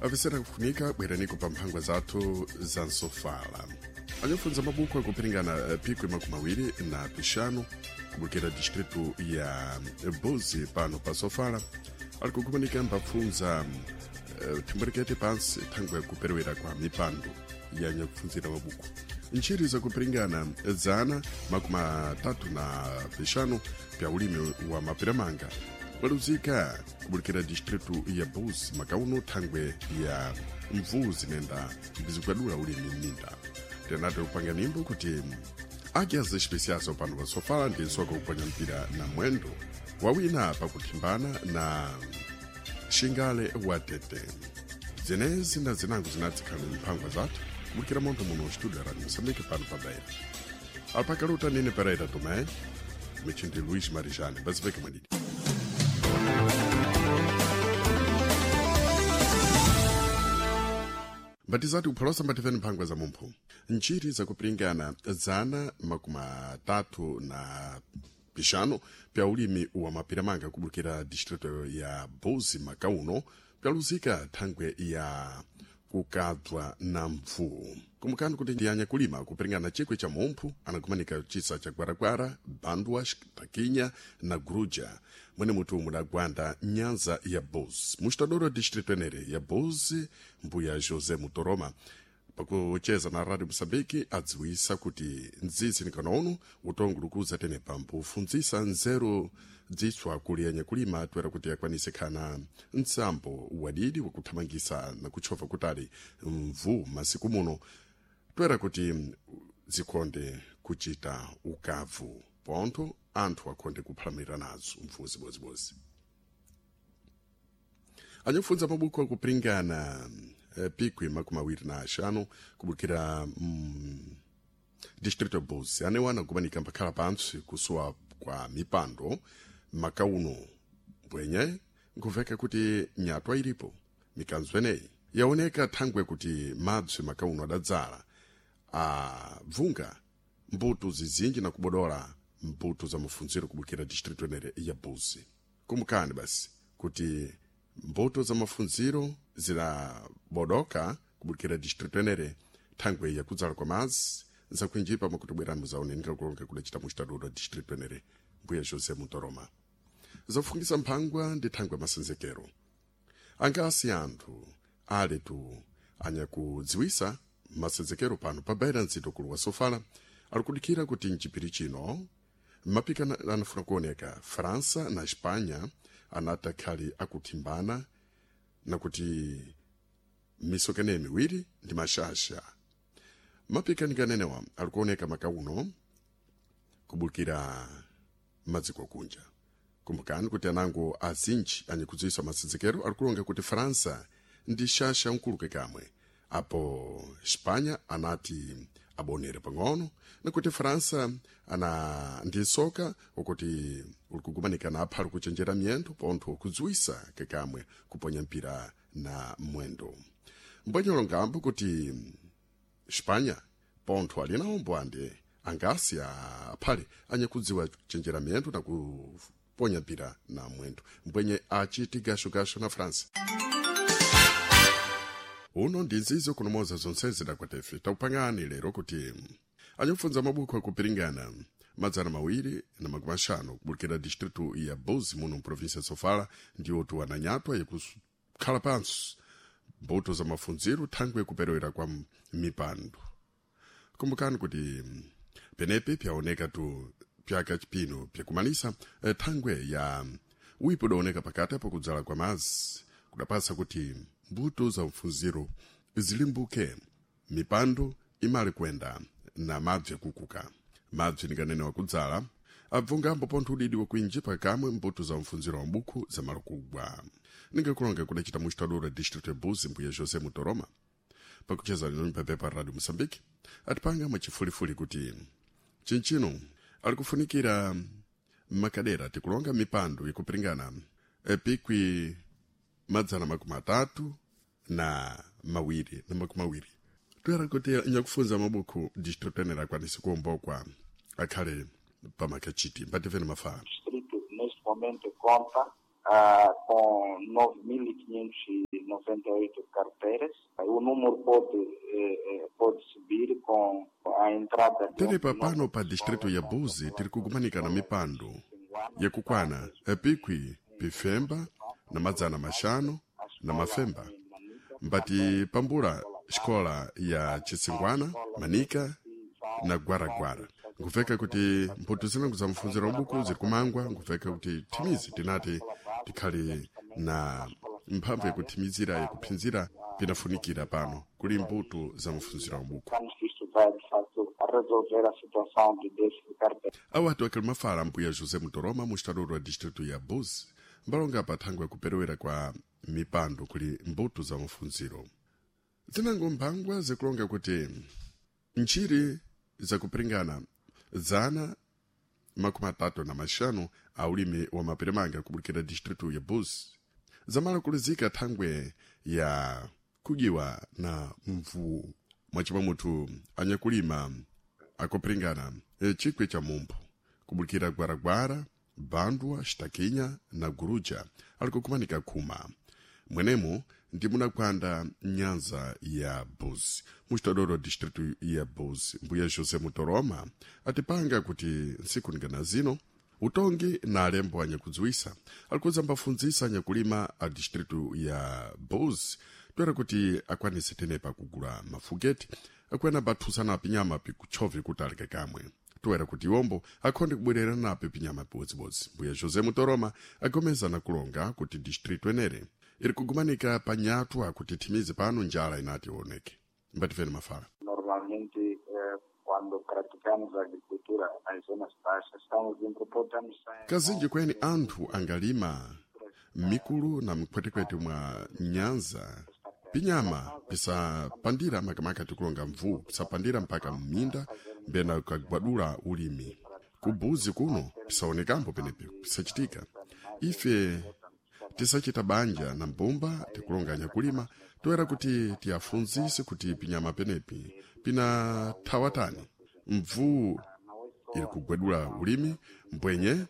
Avisera kufunika bweraniko pa mphangwa zathu za nsofala. Anyafunza mabuku akupiringana pikwi makumi awiri na pixanu kubukira distritu ya Buzi pano pa Sofala ali kugumanika mbapfunza thimwerekete pansi thangwe yakuperewera kwa mipando ya nyakufunzira mabuku. Ntchiri zakupiringana zana makumi atatu na pixanu pya ulimi wa mapiramanga waluzika kubulikira distritu ya Buzi makauno thangwe ya mvuu zinenda mbizikwadula ulimi mminda. Tenate kupanga nimbo kuti águias especiais pano pa Sofala ndi nsoka kuponya mpira na mwendo wawina pakuthimbana na Xingale wa Tete. Zenezi na zinango zinadzikhala mphangwa zathu kubulikira montho muno studio ya Radio Moçambique pano pa Beira. Alpakaluta Nini Pereira Tomé, Michindi Luís Marijane, basiveke mwadidi. Mbatizati kupholosa mbativeni mphangwa za mumphu. Ntchiri zakupiringana zana makumi atatu na pixanu pya ulimi wa mapiramanga kubulikira distrito ya Buzi makauno pyaluzika thangwe ya kukadzwa na mvuu. Kumbukani kuti ndi anyakulima kupiringana chikwi cha mumphu anakumanika chisa cha Gwaragwara, Bandwa, Takinya na Gruja mwene mutu mudagwanda nyanza ya Buzi. Mustadoro distrito enere ya Buzi, mbuya José Mutoroma pakucheza na Radio Moçambique adziwisa kuti mdzidzi nikanono utongulukuza tenepa mpufundzisa nzeru dzitswa kuli anyakulima toera kuti akwanise khana mtsambo wadidi wakuthamangisa na kutchova kutali mvuu masiku muno toera kuti zikhonde kuchita ukavu pontho anthu akhonde kuphalamira nazo mvuu zibozibozi. Anyakufunza mabuku akupiringana pikwi makumi awiri na axanu kubukira distrito ya Buzi anewana kumanika mpakhala pantsi kusowa kwa mipando makauno mbwenye nkuveka kuti nyatwa ilipo mikanzo eneyi yaoneka thangwe kuti mabzi makauno adadzala abvunga mbuto zizinji na kubodola mbuto za mafunziro kubukira distrito enere ya Buzi. Kumbukani basi kuti mbuto za mafunziro zidabodoka kubukira distrito enere thangwe yakudzala kwa madzi zakuinjipa makuti bwerani muzaonenera kulonga kudacita mustaduro distrito enere mbuya José Mutoroma. Zafungisa mphangwa ndi thangwe masenzekero. Angasi anthu aletu anyakudziwisa masenzekero pano pa Beira nzito kulu wa Sofala ali kudikira kuti mchipiri chino mapika anafuna kuoneka França na Espanha anati akhali akuthimbana nakuti misokene miwiri ndi mashasha. Mapikanikanene ali kuoneka makauno kubukira madziko kunja. Kumbukani kuti anango azinji anyakudziwisa masenzekero ali kulonga kuti França ndi shasha mkuluke kamwe apo Espanha anati abonere pang'ono nakuti França ana ndi soka ukuti uli kugumanika na apha ali kuchenjera miyendo pontho kudziwisa kakamwe kuponya mpira na mwendo. Mbwenyolo ngambo kuti Espanha pontho ali nawo mbwande angasi aphale anyakudziwa kuchenjera miyendo na kuponya mpira na mwendo mbwenye achiti gashogasho na França. Uno ndi nzizo kunomoza zonse zidakwatefe taupangani lero kuti anyakufunza mabuku akupiringana 250 kubulikira distritu ya Buzi muno mprovinsia ya Sofala ndiwo ananyatwa yakukhala pansi mbuto za mafunziro thangwe kuperewera kwa mipando. Kumbukani kuti penepe pyaoneka tu pyaka chipino pyakumalisa thangwe ya wipo udaoneka pakati apo kudzala kwa madzi kudapasa kuti mbuto za mfunziro zilimbuke mipando imali kwenda na mabzi akukuka. Mabzi nikanene wakudzala abvungambo pontho udidi wakuinji pakamwe mbuto za mfunziro wa mbuku zamalo kugwa. Ningakulonga kudacita mustadura distrito ya Buzi mbuya José Mutoroma pakucheza lino pepepa Radio Moçambique atipanga mwachifulifuli kuti chinchino ali kufunikira makadera tikulonga mipando ikupiringana pikwi 320 toera kuti nyakufunza mabuku distrito enera akwanise kuombokwa akhale pamakachiti mbativeni mafala. Distrito neste momento conta com 9.500 98 carteiras. O número pode subir com a entrada de Tenepa pano pa distrito ya Buzi tiri kugumanika na mipando yakukwana epikwi pifemba na madzana maxanu na mafemba mbati pambula xikola ya Chisingwana, Manika na Gwaragwara. Nkuveka kuti mphuthu zinango za mfunziro wa buku ziri kumangwa, nkuveka kuti thimizi tinati tikhale na mphamvu yakuthimizira yakuphinzira pinafunikira pano kuli mbuto za mfunziro wa buku. Pensamos que isto vai, de facto, resolver a situação de déficit de carteiras. Awo atu akali mafala mbuya José Mutoroma mustadoro wa distrito ya Buzi mbalonga pa thangwe yakuperewera kwa mipando kuli mbuto za mfunziro. Zinango mphangwa zikulonga kuti ntchiri zakupiringana 135 a ulimi wa mapelemanga kubulukira distrito ya Buzi zamala kulizika thangwe ya kudyiwa na mvuwu mwachimwa muthu anyakulima akupiringana chikwi cha mumphu kubulukira Gwaragwara, Bandwa, Xitakinya na Guruja ali kukumanika khuma mwenemu ndi munakwanda nyanza ya Buzi muxitodoro distrito ya Buzi. Mbuya José Mutoroma atipanga kuti ntsiku ningana zino utongi na alembo anyakudziwisa alikuza mbafundzisa anyakulima a distrito ya Buzi toera kuti akwanise tenepa kugula mafugeti akwena bathusana pinyama pikutchove kuti aleke kamwe toera kuti iwombo akhonde kubwerera napo pinyama piwodzibodzi. Mbuya José Mutoroma agomeza na kulonga kuti distrito enere iri kugumanika panyatwa kuti thimizi pano njala inati ioneke. Mbatifeni mafala. Normalmente, quando praticamos agricultura nas zonas baixas, estamos em estamos sem. Kazinji kweni anthu angalima mikulu na mikhwetekwete mwa nyanza pinyama pisapandira makamaka tikulonga mvuwu pisapandira mpaka mminda mbena kagwadula ulimi kubuzi kuno pisaonekambo penepe pisachitika. Ife tisachita banja na mbumba tikulonga nyakulima toera kuti tiyafunzise kuti pinyama penepi pinathawatani mvuwu iri kugwadula ulimi mbwenye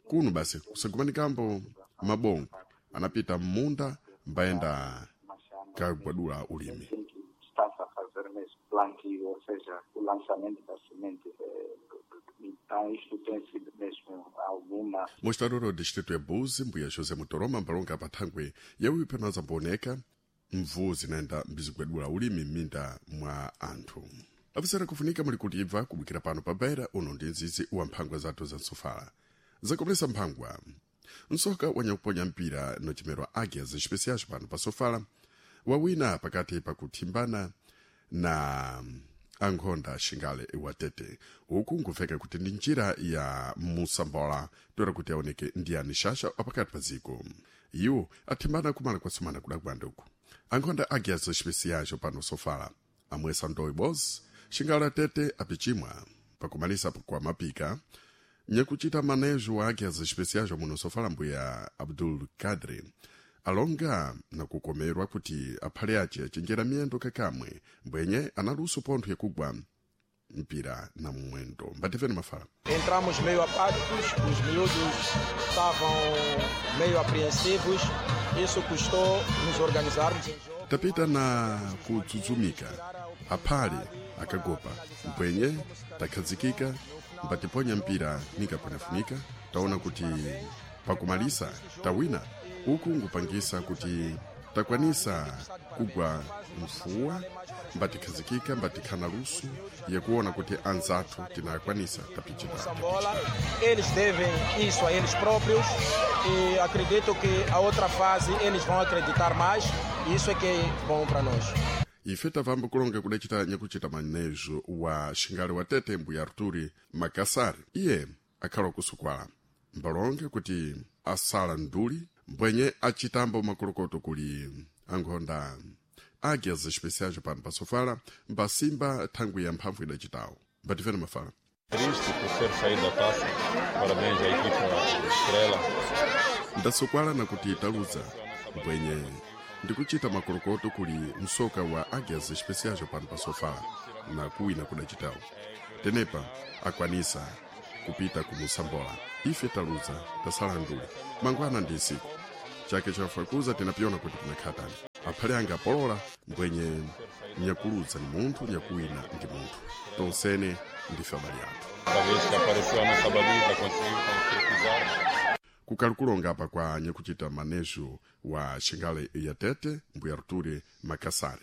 kuno basi kusagumanikambo mabongo anapita mmunda mbayenda kagwadula ulimi. Tem que está-se a fazer mesmo plantio, ou seja, o lançamento da semente. Então, isto tem sido mesmo alguma Mostrador wa distrito ya Buzi mbuya José Mutoroma mbalonga pathangwe yawipi panazambooneka mvuwu zinaenda mbizigwadula ulimi m'minda mwa anthu. Apisera kufunika muli kuti ibva kubukira pano pa Beira uno ndi nzizi wa mphangwa zathu za nsofala zakomelesa mphangwa nsoka wanyakuponya mpira nochemerwa Águias Especiais pano pa sofala wawina pakati pakuthimbana na ankhonda xingale watete uku nkuveka kuti ndi njira ya musambola toera kuti aoneke ndiyani xaxa apakati pa dziko. Iwo athimbana kumala kwatsumana kudakwanda uku ankhonda Águias Especiais pano sofala amwesa ndoyi bos xingale atete apichimwa pakumalisa kwa mapika nyakuchita manejo wa Águias Especiais muno sofala mbuya Abdul Kadri alonga na kukomerwa kuti aphale ace achenjera miyendo kakamwe mbwenye analuso pontho yakugwa mpira na mwendo. Mbatifeni mafala. Entramos meio apáticos, os miúdos estavam meio apreensivos, isso custou nos organizarmos em jogo. Tapita na kudzudzumika aphale akagopa mbwenye takhazikika mbatiponya mpira nikaponafunika taona kuti pakumalisa tawina uku ngupangisa kuti takwanisa kugwa mfuwa mbatikhazikika mbatikhana luso yakuona kuti anzathu tinakwanisa tapichita. Sambola, eles devem isso a eles próprios e acredito que a outra fase eles vão acreditar mais e isso é que é bom para nós. Ife tavamba kulonga kudacita nyakuchita manejo wa xingale wa tete mbuya Arturi Makasari iye akhala kusukwala mbalonge kuti asala nduli mbwenye achitambo makolokoto kuli ankhonda Águias Especiais pano pa sofala mbasimba thangwi ya mphamvu idacitawo. Mbatifeni mafala. Triste por ser saído da taça. Parabéns à equipa Estrela. Ndasukwala na kuti taluza mbwenye ndikuchita makolokoto kuli msoka wa Águias Especiais pano pa sofala na kuwina kudacitawo tenepa akwanisa kupita kumusambola ife taluza tasala nduli mangwana ndi nsiku chake chafakuza tinapyona kuti pinakhatani. Aphale anga apolola mbwenye nyakuludza ni munthu, nyakuwina ndi munthu, tonsene ndife abale athu. Cada vez que apareceu a nossa baliza, conseguiu concretizar. Kukali apa kwa nyakuchita manejo wa Xingale ya Tete, mbuya Arture Makassare.